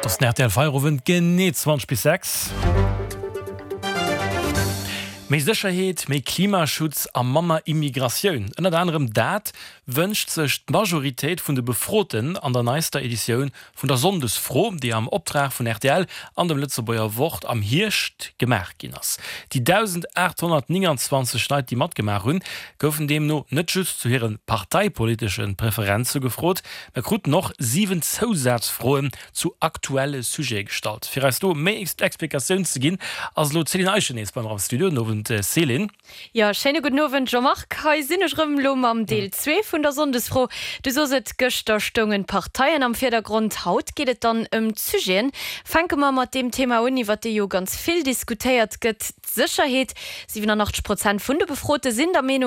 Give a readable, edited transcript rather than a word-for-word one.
Et ass den rtl Feierowend, genee 20 bis 6. Méi Sécherheet, méi Klimaschutz a manner Immigratioun, ënnert anerem dat wënscht sech d'Majoritéit vun de Befroten an der neister Editioun vun der Sonndesfro, déi am Optrag vun rtl an dem Lëtzebuerger Wort am Hierscht gemaach ginn ass. Déi 1.829 Leit, déi matgemaach hunn, goufen deemno net just zu hire parteipolitesche Preferenze gefrot, mä kruten och 7 Zousazfroen zu aktuelle Sujete gestallt. Fir eis do méi Explikatioun ze ginn, ass elo d'Céline Eischen nees bei mer am Studio. Den Owend, Céline. Jo, schéine gudden Owend Jean-Marc. Hei sinn ech erëm, elo mam Deel zwee vun der Sonndesfro. Du sos et, gëschter stoungen d'Parteien am Virdergrond, haut geet et dann ëm d'Sujeten. Fänke mer mat deem Thema un, iwwer dee jo ganz vill diskutéiert gëtt, d'Sécherheet. 87 Prozent vun de Befrote sinn der Meenung,